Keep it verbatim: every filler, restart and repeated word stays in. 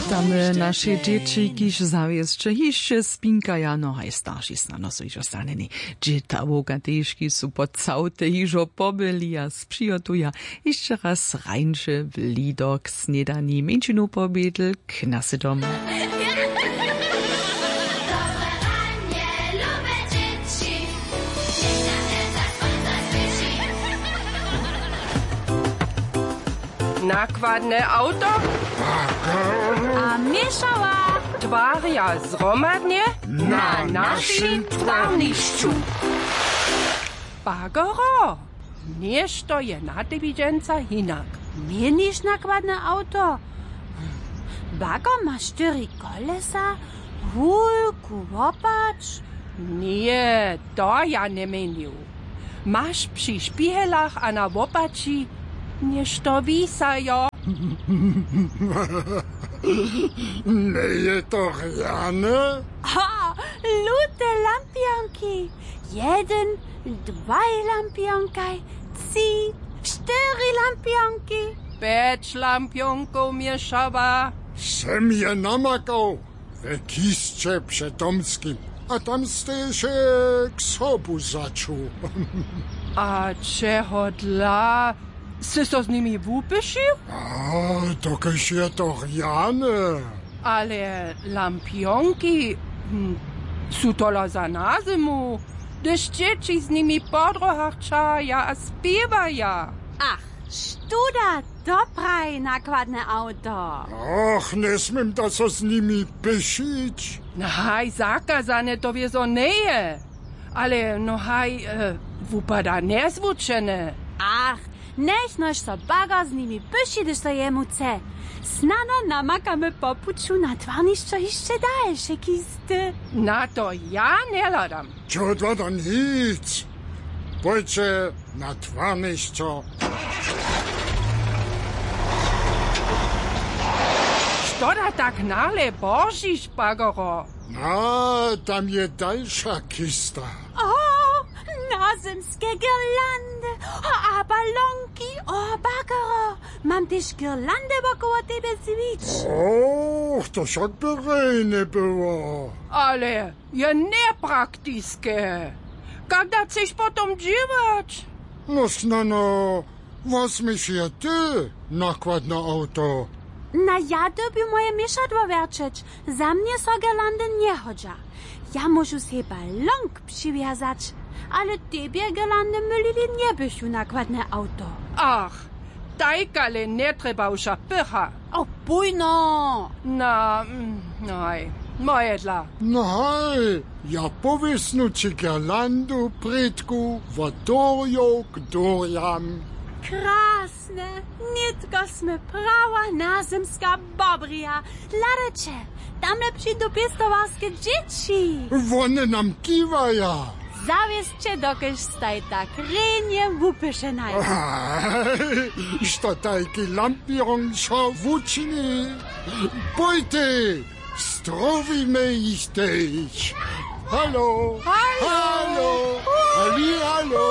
Witamy naše dźěći, kiž zawěsće hišće spinkaja, no haj starši snano su hižo stanjeni. Dźětawka tež, kiž su po całte hižo pobyli a přihotuja hišće raz rańše w lido k snědani. Mjeńšinu pobědl k nasydom. Nakładne awto a měšała twarja zhromadnje na našim twarnišću. Bagero, něšto je na tebi dźensa hinak. Měniš nakładne awto? Bagor ma štyri kolesa, wulku łopać. Ně, to ja njeměnił. Maš při špihelach a na łopaći něšto wisajo? Njeje to rjane? Ha, lute lampionki. Jedyn, dwaj lampionkaj, tři, štyri lampionki. Pjeć lampionkow měšała. Sem je namakał. We kisće před Tomskim. A tam steješe k sobu začuł. A čehodla sy so z nimi wupyšił? A dokelž je to rjane. Ale lampionki, hm, su tola za na zymu, hdyž dźěći z nimi po dróhach ćahaja a spěwaja. Ach, študa. To praji nakładne awto. Och, njesměm da so z nimi pyšić. Haj, zakazane to wězo njeje. Ale no haj, e, wupada njezwučene. Ach, njechnož so bagor z nimi pyši, hdyž so jemu chce. Snano namakamy po puću na twarnišćo hišće dalše kisty. Na to ja njehladam. Čehodla da nic. Pójće na twarnišćo. Što da tak nahle božiš, bagoro? Na, tam je dalša kista. O, nazymske girlandy, o, a balonki, o, bagoro. Mam tež girlandy wokoło tebje zwić. Och, to wšak by rjenje było. Ale je njepraktiske. Kak da chceš potom dźěłać? No snano, wosměš je ty, nakładne awto. Na, ja dyrbju moje měšadło wjerćeć. Za mnje so girlandy njehodźa. Ja móžu sej balonk přiwjazać. Ale tebje girlandy mylili njebychu, nakładne awto. Ach, tajkale njetrjebawša pycha. O, bójno! Na, mm, naj, mojedla. No haj, ja powěsnu ći girlandu prědku wot durjow k durjam. Krasne, nětko smy prawa nazymska bobrija. Hladajće, tamle přidu pěstowarske dźěći. Wone nam kiwaja. Zawěsće, dokelž staj tak rjenje wupyšenaj. Što tajki lampiončo wučini? Pójtej, strowimy jich tež. Halo, halo, hali, halo.